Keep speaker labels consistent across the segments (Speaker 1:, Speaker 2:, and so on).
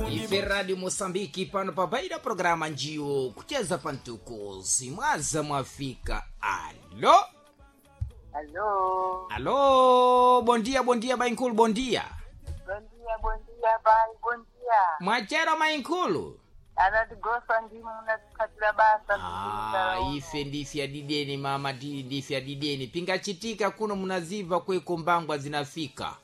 Speaker 1: Ife Radio Moçambique pano pabaira programa njiwo kucheza pantukuzi mwaza mwafika. Alo.
Speaker 2: Alô.
Speaker 1: Alo, bom dia, bom dia, mainkulu, bom dia.
Speaker 2: Bom dia, bom dia, pai, bom dia.
Speaker 1: Mwachero mainkulu.
Speaker 2: Anatigosa ndimo munatiphatira basa.
Speaker 1: Ah, ife ndife adideni mama, ndife adideni. Pingachitika kuno munaziva kweko mbangwa zinafika.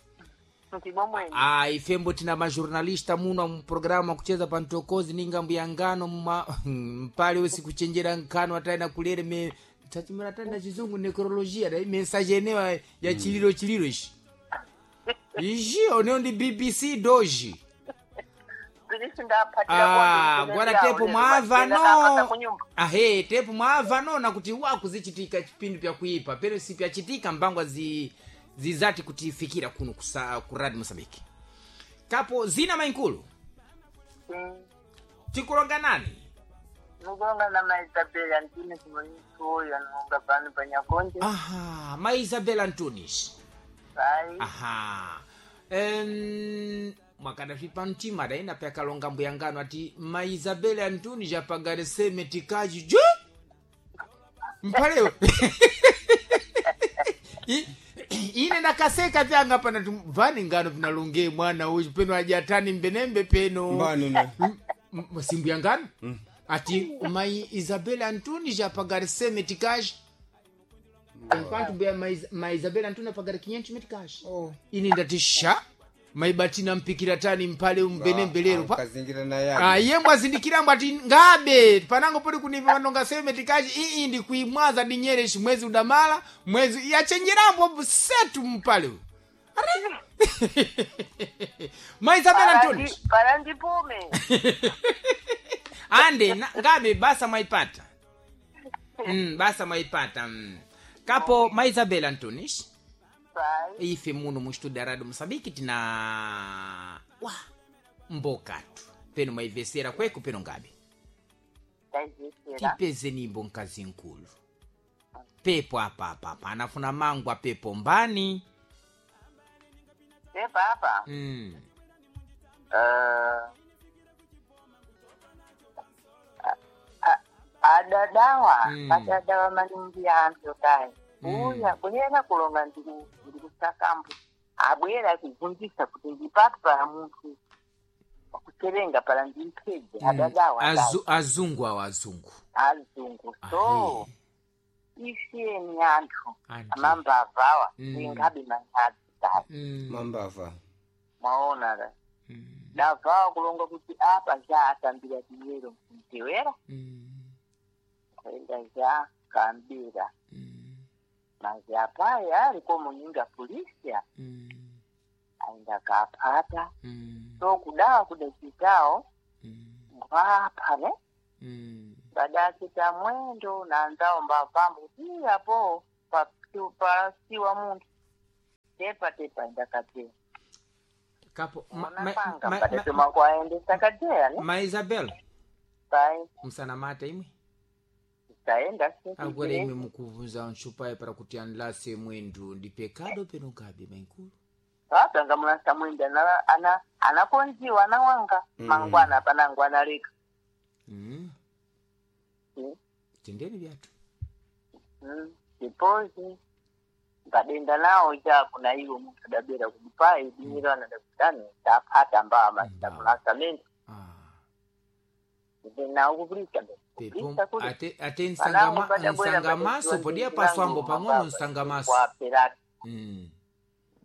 Speaker 2: Ndimo mwene.
Speaker 1: Ah, ifembo tina majornalista muno mu programa kucheza pantokozi ninga mbuyangano mma mpale usi kuchenjera nkano ataenda kulere me tachimira ataenda chizungu necrologia dai message enewa ya chililo chililo ishi ishi oneo ndi BBC doji.
Speaker 2: Pilisi ndaphatira.
Speaker 1: Ah, gwara tepo mwava no ahe tepo mwava no nakuti wakuzichitika chipindu pyakuipa pero si pyachitika mbangwa zi zizati kutifikira kuno kusa ku Radio Mozambique. Kapo zina mainkulu tikulonga nani?
Speaker 2: Mukulonga na maisabela ntine simonisuyo nonga pano panyakonje.
Speaker 1: Aha, ma Isabel Antunis.
Speaker 2: Pai.
Speaker 1: Aha. Mwakadafipa mtima daina pyakalonga mbuyangano ati ma Isabel Antunis apagareseme tikaji ju mpalewe. Ine nakaseka pyanga pana vani ngano vinalonge mwana uyu peno ajatani mbenembe peno.
Speaker 3: Mbani ne?
Speaker 1: Simbu yangano ati mai Isabel Antunis apagareseme metikaji enquanto bea ma Isabel Antunes apagara 500 meticais.
Speaker 3: Oh.
Speaker 1: Ine ndati sha maibatina mpikira tani mpale umbenembelero pa
Speaker 3: Kazingira na yake.
Speaker 1: aye mbwazindikirambo ati ngabe panango poti kunipa panonga seme tikachi ii ndi kuimwaza dinyere ishi mwezi udamala mwezi yachenjerambo setu mpale uyu. Are ma Isabel Antunes.
Speaker 2: Para ndipume.
Speaker 1: Ande ngabe basa mwaipata. Basa mwaipata. Kapo ma Isabel Antunes.
Speaker 2: Pai.
Speaker 1: Ife muno mu studio ya Radio Mosambiki tina wa mbokatu peno mwaivesera kweko peno ngabe.
Speaker 2: Taizesera.
Speaker 1: Tipeze nimbo nkazi nkulu pepo apa apa apa anafuna mangwa pepo mbani.
Speaker 2: Pepa apa. Adadawa. Adadawa maningi anthu kaya. Uya bwera kulonga ndikusakambo. Abwera kubvunzisa kuti ndipati pala munthu wakuterenga pala ndimphedze. Adadawa.
Speaker 1: Azungu awo azungu.
Speaker 2: Azungu. So isiyeni anthu
Speaker 1: Anti.
Speaker 2: amambavawa ingabe manyazi kaya.
Speaker 3: Mambava.
Speaker 2: Mwaona ka. Davawa kulonga kuti apa za atambira dinyero mtewera. Kwenda za kambira. Mazi apaye aliko munyinga polisi aenda kapata. So kudawa kudachitawo ngwapa ne. Badachita mwendo nanzawo mbavambo kuti apo pasiwa munthu tepa tepa aenda kateya.
Speaker 1: Kapo
Speaker 2: Unapanga padatoma kwaendesa kateya ne.
Speaker 1: ma Isabel.
Speaker 2: Pai.
Speaker 1: Msanamata imwe.
Speaker 2: Taenda.
Speaker 1: Agora imwe mukuvunza ntchupayi para kuti anlase mwendu ndi pecado peno ngabe mainkulu.
Speaker 2: Apanga mulasa mwendo anakonziwa anawanga mangwana panango analeka.
Speaker 1: Tendeni vyatu.
Speaker 2: Depois ngadenda nawo chako na iwo munthu adabwera kuti pai dinyiro anadakutani taphata mbama tamulasamente. Nawo kupulisa.
Speaker 1: Pepo ate nsangamaso podia paswambo pang'ono nsangamaso.
Speaker 2: Kwaperati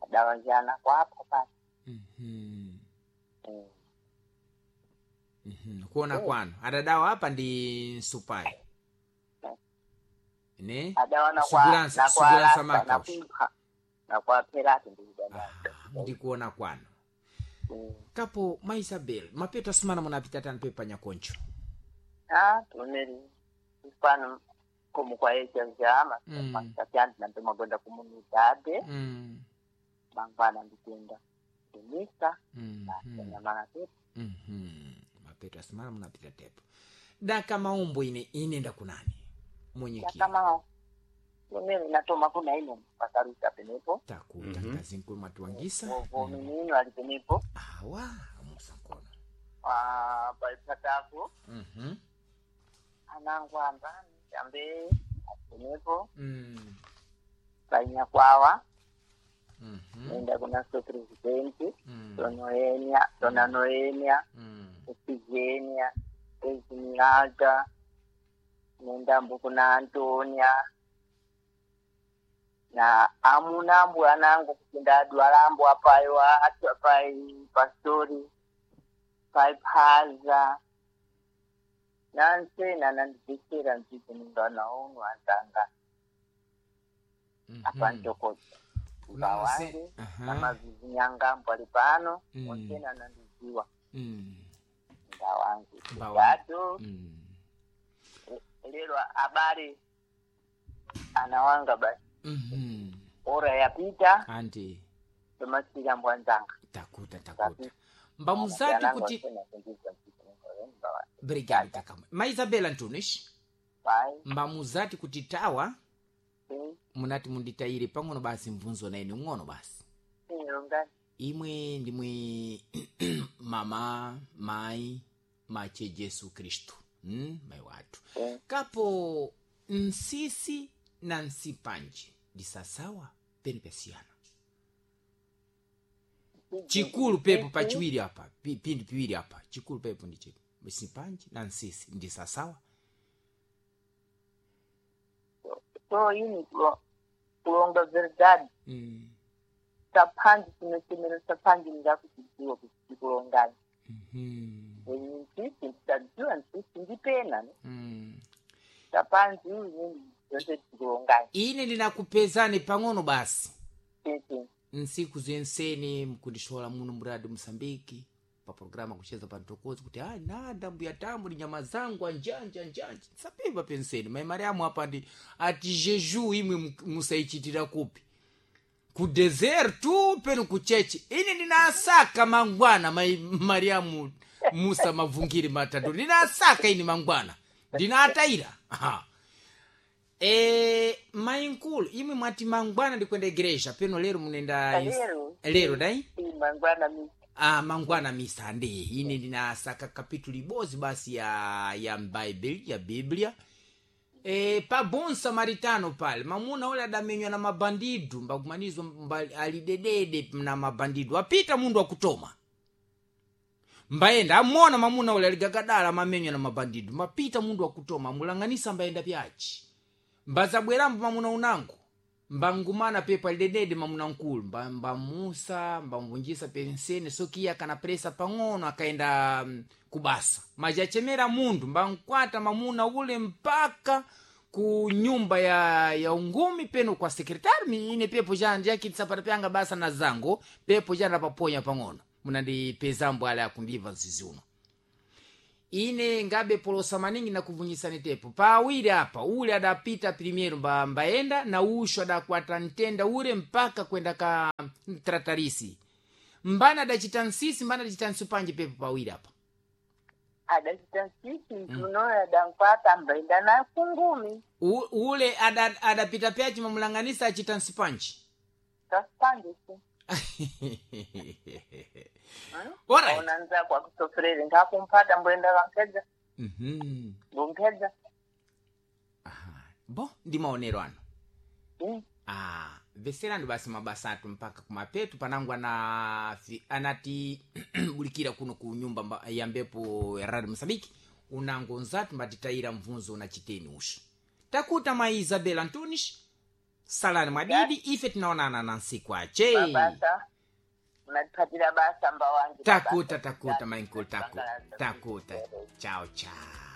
Speaker 2: adawanjana kwapha pasi.
Speaker 1: Kuona kwanu adadawa apa ndi nsupayi ne.
Speaker 2: Adawana
Speaker 1: Sugulansa- sugulansa makaus.
Speaker 2: nakupha nakwaperati ndikudada.
Speaker 1: Ndikuona kwanu kapo ma Isabel mapeto asumana munapita tani pepo panyakoncho.
Speaker 2: Ah, tumeri pano como kwaecha vyama tatyandi nandomagonda kumunidade. Mangwana ndikuenda kumisa nyamana tepo.
Speaker 1: Mapeto asimana munapita tepo daka maumbo ine inenda kunani mwenyekiti.
Speaker 2: Yakamao tumeri natoma kuna ino pakaruta penepo.
Speaker 1: Takuta mm -hmm. Kazinkulu mwatiwangisa.
Speaker 2: Vominino ali penepo.
Speaker 1: Awa amusa nkono.
Speaker 2: Pa paipatako
Speaker 1: Mhm.
Speaker 2: anangu ambani ambe atenepo
Speaker 1: Mm.
Speaker 2: painyakwawa
Speaker 1: Mhm.
Speaker 2: nenda kunaso presidenti
Speaker 1: Mm.
Speaker 2: tonoenia tona noenia
Speaker 1: Mm.
Speaker 2: Efigenia Esmeralda nendambo kuna Antonia na amunambo anangu kuti ndadwalambo apayo atu apai pastori paiphaza nansena nandibetsera nzviko ninganaono anzanga
Speaker 1: Mhm.
Speaker 2: apantokoza
Speaker 1: Kuna
Speaker 2: mbawange
Speaker 1: Aha.
Speaker 2: namazizi nyangambo ali pano
Speaker 1: Mm.
Speaker 2: onsena nandiziwa
Speaker 1: Mm.
Speaker 2: mbawange
Speaker 1: Mbawange.
Speaker 2: gado
Speaker 1: Mm.
Speaker 2: lero abale anawanga basi
Speaker 1: Mhm.
Speaker 2: ora yapita
Speaker 1: Anti
Speaker 2: tomasira mbwanzanga
Speaker 1: takuta takuta mbamuzati kuti brigade takamwe ma Isabela Antunes mbamuzati kuti tawa munati munditayire pang'ono basi mvunzo na ine ng'ono basi imwe ndimwe mama mai mache Jesu Kristu mai wathu kapo nsisi na nsipanje ndisasawa peni pesiyana chikulu pepo pachiwiri apa pindi piwiri apa chikulu pepo ndi chipi nsipanje na nsisi ndisasawa
Speaker 2: so ini kulonga verdade
Speaker 1: mm.
Speaker 2: saphanji chinochemero saphanji ndakuchidziwa kuti chikulongani
Speaker 1: mm
Speaker 2: nsisi ndisadziwa nsisi ndipena ne
Speaker 1: mm.
Speaker 2: saphanji inini zvose tikulongani
Speaker 1: ine ndinakupezani pang'ono basi
Speaker 2: sisi
Speaker 1: nsiku zenseni mkundishola muno muradi Mosambiki pa programa kucheza pa ntokozi kuti ah nada mbuya tambu ni nyama zangu anjanja anjanja sapimba penseni mai Mariamu apa ndi ati jeju imwe musaichitira kupi ku desertu penu ku chechi ine ndinasaka mangwana mai Mariamu Musa mavungiri matatu ndinasaka ini mangwana ndinatayira aha. E, mainkulu imwe mwati mangwana ndikwenda igreja peno lero munenda
Speaker 2: Lero.
Speaker 1: lero dai
Speaker 2: mangwana mi
Speaker 1: ah, mangwana misa ndi ine ndinasaka kapitulu ibodzi basi ya bible ya biblia e, pa bon samaritano pale mamuna ule adamenywa na mabandidu mbakumanizwa mba, alidedede na mabandidu apita mundu akutoma mbayenda amona mamuna ule aligagadala amamenywa na mabandidu mapita mundu akutoma amulang'anisa mbayenda pyachi mbazabwerambo mamuna unango mbangumana pepo alidedede mamuna nkulu mbamusa mbamvunjisa pensene sokiya kana presa pang'ono akaenda kubasa majachemera mundu mbankwata mamuna ule mpaka ku nyumba ya ungumi peno kwa sekretari ine pepo janja kitsapata pyanga basa na zango pepo jana paponya pang'ono munandipezambo ale akundiva mzizi uno ine ngabe polosa maningi nakuvunyisani tepo pawiri apa ule adapita primeiro mbaenda na usho adakwata ntenda ule mpaka kwenda ka tratarisi mbana adachita nsisi mbana adachita nsupanje pepo pawiri apa
Speaker 2: adachita nsisi ntunoyo adankwata mbaenda na kungumi
Speaker 1: Ule adapita pyachi mamulanganisa achita nsupanje
Speaker 2: sasipandisi
Speaker 1: Alright.
Speaker 2: ona nzako akusofrere ngakumpata mboenda kampedza
Speaker 1: Mhm.
Speaker 2: mbompedza
Speaker 1: Aha. Bo ndi maonero ano Ah, veserani basi mabasa atu mpaka kumapetu panangu anati bulikira kuno ku nyumba ya mbepo ya radio Mosambiki unango nzatu mbatitayira mvunzo na chiteni usho takuta ma Isabela Antunes salani mwadidi ife tinaonana na nsiku ache
Speaker 2: mabasa unatipatira basa mba wangu
Speaker 1: takuta takuta mainkulu takuta takuta chao chao.